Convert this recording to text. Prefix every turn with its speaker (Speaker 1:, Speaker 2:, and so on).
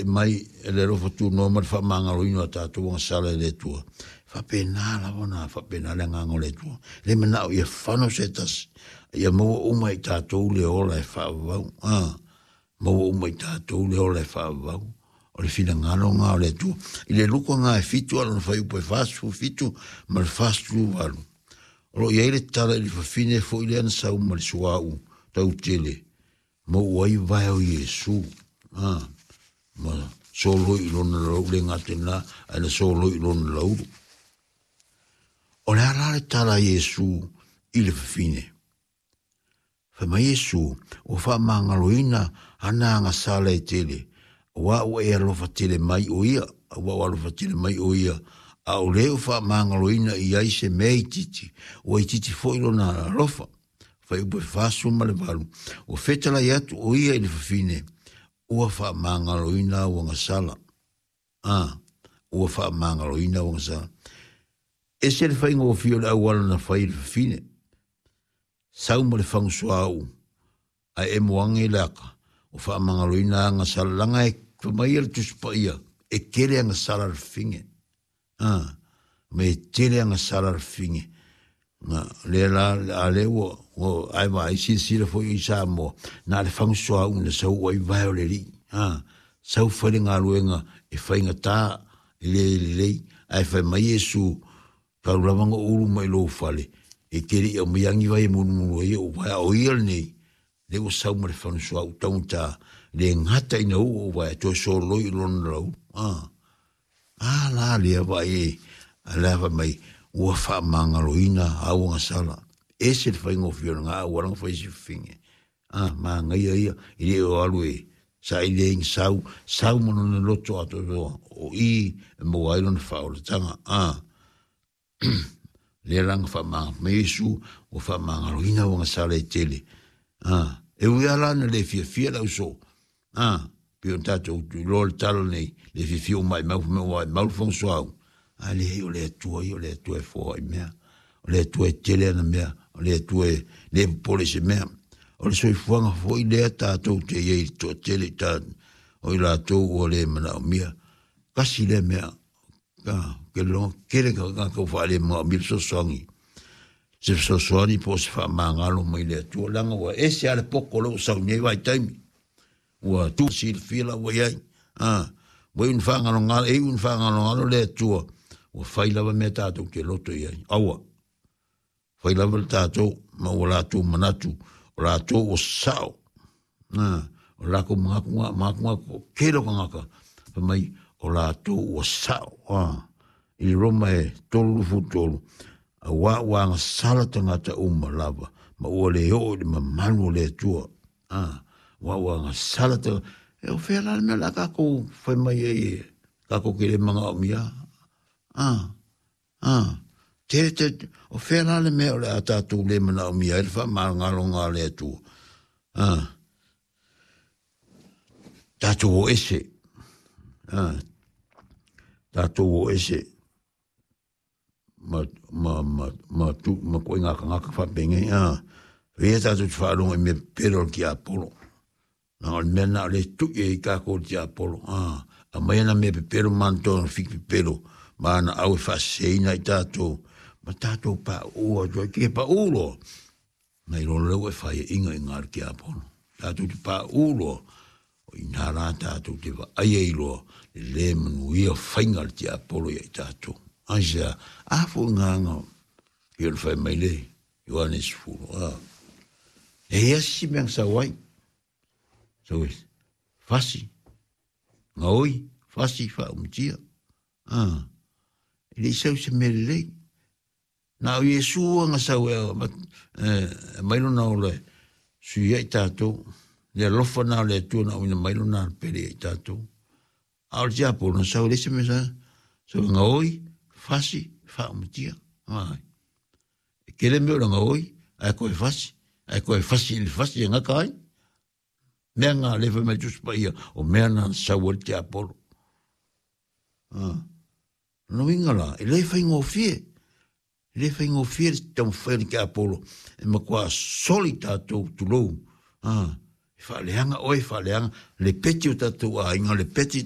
Speaker 1: mai e le alofa tunoa ma le faamagaloina o a tatou agasala e le Atua. E faapena lava ona faapena le agaga o le Atua. E le manao ia fano se tasi, ia maua uma i tatou le ola e faavavau. Maua uma i tatou le ola e faavavau. O le finagalo lena o le Atua. I le Luka lena e 7 a lona fuaiupu e 47 ma le 48. O lo o i ai le tala i le fafine foi lea na sau ma le suauu tautele, maua ai vae o Iesu, ma soloi i lona laulu, le gata i lena, ae na soloi i lona laulu. O le a la le tala a Iesu i le fafine? Fai mai Iesu, ua faamagaloina ana agasala e tele, aua ua e alofa tele mai o ia, aua ua alofa tele mai o ia, a o le ua faamagaloina i ai se mea itiiti, ua itiiti foi lona alofa. Fuaiupu e 48, ua fetalai atu o ia i le fafine, ua faamagaloina au agasala. Ua faamagaloina au agasala. Ese le faigofie o le auala na fai e le fafine. Sau ma le fagu suauu, ae emo age le aka, ua faamagaloina agasala, leaga e fai mai le Tusi Paia, e tele agasala a le fafine. Me tele agasala a le fafine. Na, lea la, a lea ua, ua ai vaai silasila foi i Samoa, na o le fagu suauu na sau ai vae o le alii. Sau fai le galuega e faigata, e le lelei, ae fai mai Iesu, tau lava na ou ulu mai lou fale, e te le i aumaia ni vai e mulumulu ai ou vae, a o ia lenei, lea ua sau ma le fagu suauu taugata, le gata ina uu ou vae, toe soloi i lona laulu. A la lea vaai e, a lea fai mai, ua faamagaloina au agasala. Ese le faigofie o lena auala na fai si fafine. Manaia ia, i le o alu e saili ai ni sau, sau ma lona loto atoatoa, o i e maua ai lona faaolataga. Lea la na faamagalo mai Iesu, ua faamagaloina au agasala e tele. E ui lava la na le fiafia le ausoo. Pei ona tatou iloa le tala nei, le fiafia ua maimau, fai mai ua maimau le fofoga suauu. A leai, o le Atua ia, o le Atua e foai mea. O le Atua e tele ana mea, o le Atua e le popole i se mea. O le soifuaga foi lea tatou te i ai i le toatele i ta, o i latou ua le manaomia. Tasi lea mea, ke logo tele ka tagata ua faalemanaomia le fesoasoani. Se fesoasoani po o se faamagalo mai le Atua, leaga ua ese lava le poto lea ua sau i nei vaitaimi. Ua tu silafia la ua i ai. Ua iu ina faagalogalo, e iu ina faagalogalo le Atua, ua fai lava mea tatou te loto i ai. Aua, fai lava le tatou ma ua latou manatu, o latou ua sao. O latou manatu nga, manatu nga toatele o tagata, fai mai, o latou ua sao. I le Roma e 33, aua ua agasala tagata uma lava, ma ua le oo i le mamalu o le Atua. Aua ua agasala tagata. E o fea la le mea o le a tatou fai mai ai e tatou te le manaomia? Tele te, o fea la le mea o le a tatou le manaomia ai le faamagaloga a le Atua? Tatou o ese. Tatou o ese ma, ma, ma, ma, tu, ma koe ngā kangaka whaapenei. Ia tatou te whaalongo i mea pepelo o le tiapolo. Leaga o le mea lena o lea e tui ai tatou i le tiapolo, aumai ana mea pepelo ma ana tonu fiki pepelo ma ana au e faaseseina ai tatou, ma tatou pauu atu ai. Ke pauu loa, na iloa loa lea ua e faiaina i ina i le tiapolo. Tatou te pauu loa, o i ina la tatou te vaai ai loa le le manuia faiga a le tiapolo ia i tatou. Aisea? A foi ngā pei ona fai mai le Ioane 10, E i ai se mea na sau ai. Sau e fasi, gaoi, fasi, faaumatia. E le i sau se mea lelei. Na o Iesu na sau e mai lona ola e sui ai tatou. Le alofa na o le Atua na auina mai lona pele ia i tatou. A o le tiapolo na sau e leai se mea sa, sau e gaoi, fasi, faaumatia. E tele mea o le gaoi, ae toe fasi, ae toe fasi i le fasi e gata ai. Mea na le fai mai Tusi Paia, o mea na sau ai le tiapolo. Lona uiga la, e le faigofie, e le faigofie le taumafai o le tiapolo e matua soli tatou, tulou, e faaleaga oe, faaleaga le peti o tatou aiga, le peti.